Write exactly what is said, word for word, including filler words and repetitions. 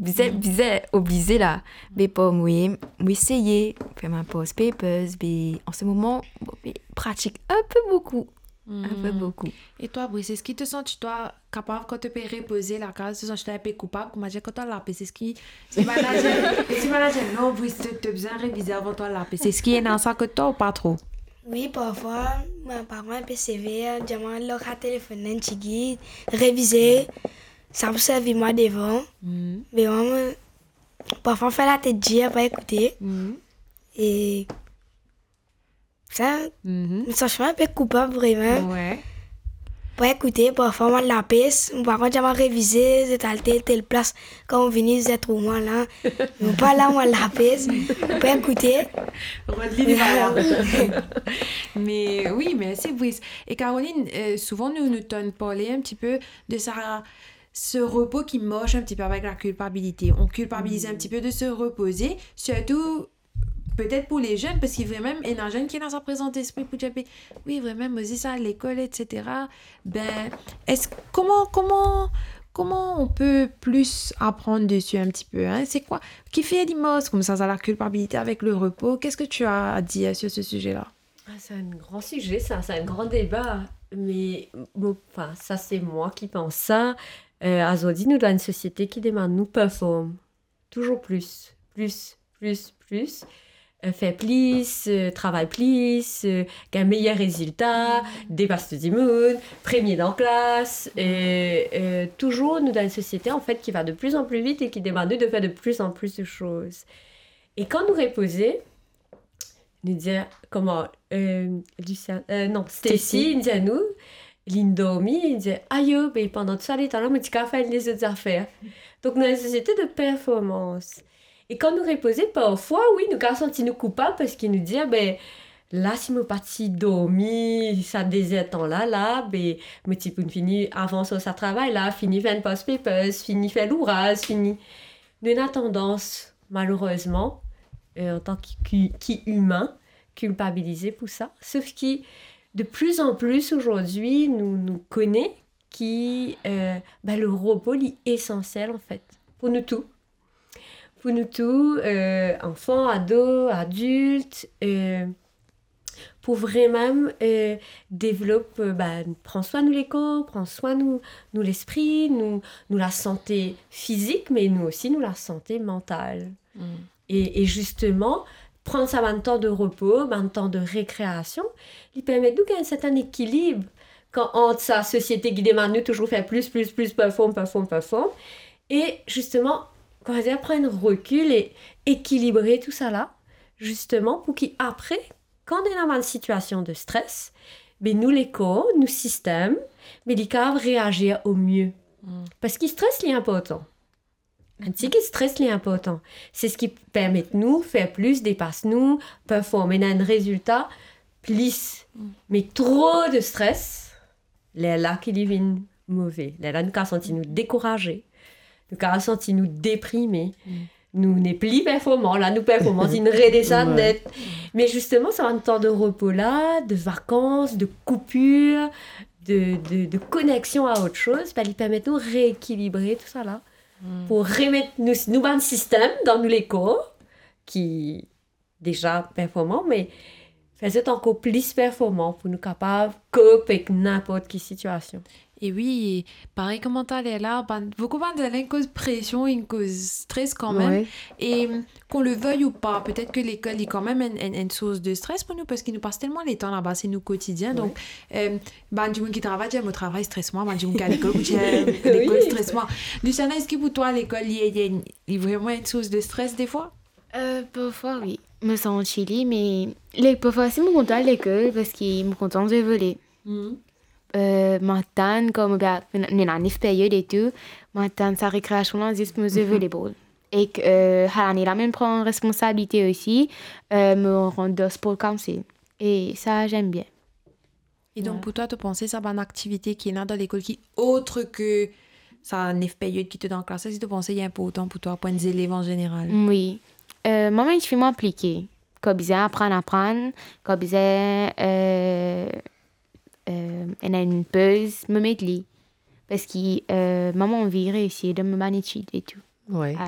bizin, bizin oblize la. Me pou mwa, mo eseye fer mo past papers, me an se moman, mo pratik inpe boukou. Inpe boukou. E twa, Brice, eski to santi twa kapav kan to pe repoze lakaz, to santi twa inpe koupab, koumadir kan to al lapes, eski, eski manager, eski manager, "Non, Brice, to, to bizin revize avan to al lapes"? Eski ena sa kot twa ou pa tro? Wi, parfwa, mo paran inpe sever, dir mwa lor sa telefonn la enn tigit, revize, sa pou servi mwa devan. Me mwa, mo, parfwa, mo fer latet dir, pa ekoute. E sa, mo santi mwa inpe koupab, vremem. Pa ekoute, parfwa, mo al lapes, mo paran dir mwa revize, zot al tel, tel plas, kan mo vini, zot trouv mwa la. Mo pa la, mo al lapes, pa ekoute. Rod li, li pa la. Me wi, mersi, Brice. E Caroline, euh, souvan nou, nou tann parle un petit peu de sa, ce repos qui marche un petit peu avec la culpabilité. On culpabilise un petit peu de se reposer, surtout peut-être pour les jeunes, parski vremem, ena zenn ki ena sa prezan lespri pou dir, "Be, wi, vremem, mo zis al lekol, et cetera." Ben, est-ce, comment, comment, comment on peut plus apprendre dessus un petit peu, hein? C'est quoi? Kifer li mars koumsa, sa, la culpabilité avec le repos? Qu'est-ce que tu as à dire sur ce sujet-là? Ah, c'est un grand sujet, ça, c'est un grand débat. Mais, bon, enfin, ça, c'est moi qui pense ça. Euh, azordi, nou dan enn sosiete ki demann nou perform. Toujours plus, plus, plus, plus. Euh, fer plis, euh, travay plis, euh, gagn meyer rezilta, depas tou dimoun, premie dan klas. Euh, euh, toujours, nou dan enn sosiete, an fet, ki va de plus en plus vite et qui demande de faire de plus en plus de choses. E kan nou repoze, nou dir, kouma, euh, Lucia, euh, non, Stacy, Stacy, li dir nou, li dormi, li dir, "Ayo, be pandan tou sa letan la, mo ti kapav fer lezot zafer." Donk, nou enn sosiete de performans. E kan nou repoze, parfwa, wi, nou kapav santi nou koupab parski nou dir, "Be, la, si mo pa ti dormi sa de zer tan la, la, be, mo ti pou fini avans lor sa travay la, fini fer enn past papers, fini fer louraz, fini." Nou ena tandans, malerezman, euh, antan ki, ki, ki imin, kilpabilize pou sa. Sof ki, de plus en plus, azordi, nou, nou kone ki, euh, ben, le repo, li esansiel, an fet, pou nou tou. Pou nou tou, euh, anfan, ado, adilt, euh, pou vremem, euh, devlop, euh, ben, pran swin nou lekor, pran swin nou, nou lespri, nou, nou lasante fizik, me nou osi nou lasante mantal. E, e zisteman, pran sa bann tan de repo, bann tan de rekreasion, li permet nou gagn sertin ekilib kan ant sa sosiete ki demann nou touzour fer plis, plis, plis, perform, perform, perform, e zisteman, kouma dir, pran enn rekil e ekilibre tou sa la, zisteman, pou ki apre, kan nou ena bann sitiasion de stres, be nou lekor, nou sistem, be li kapav reazir o mie. Parski stres, li inportan. Enn tigit stres, li inportan. Se seki permet nou fer plis, depas nou, perform, ena enn rezilta plis. Me tro de stres, lerla ki li vinn move. Lerla nou kapav santi nou dekouraze, nou kapav santi nou deprime, nou nepli performan, la nou performans inn redesann net. Me zisteman, sa bann tan de repo la, de vakans, de koupir, de, de, de koneksion a ot soz, ben, li permet nou reekilibre tou sa la. Pou remet nou, nou bann sistem dan nou lekor, ki deza performan, me fer zot ankor plis performan pou nou kapav kop ek ninport ki sitiasion. E wi, parey kouma taler la, bann, boukou bann zalenn koz presion, inn koz stres kanmem. E, qu'on le veuille ou pas, petet ke lekol, li kanmem enn, enn, enn sours de stres pou nou, parski nou pas telman letan laba, se nou kotidien. Donk, euh, bann dimoun ki travay, dir, "Mo travay stres mwa", bann dimoun ki al lekol, pou dir, "Lekol stres mwa". Luciana, eski pou twa, lekol, li, li, li vreman enn sours de stres defwa? Euh, parfwa, wi. Mo santi li, me le-, parfwa osi, mo kontan al lekol, parski mo kontan zwe vole. Euh, mo atann, kouma, ben, ena nef peryod e tou, mo atann sa rekreasion la zis pou mo zwe volebol. Ek, euh, sa lane la, mo pran responsabilite osi, euh, mo rant dan spor kamse. E sa, j'aime bien. E donk, pou twa, to panse sa bann aktivite ki ena dan lekol ki ot ke sa nef peryod ki to dan klas, eski to panse li inportan pou twa, pou enn zelev an zeneral? Wi. Euh, mwa, mo enn tifi mwa inplike. Kan bizin aprann, aprann. Kan bizin, euh, euh, ena enn poz, mo met li. Parski, euh, mwa, mo anvi reisi dan mo bann etid e tou. Wi.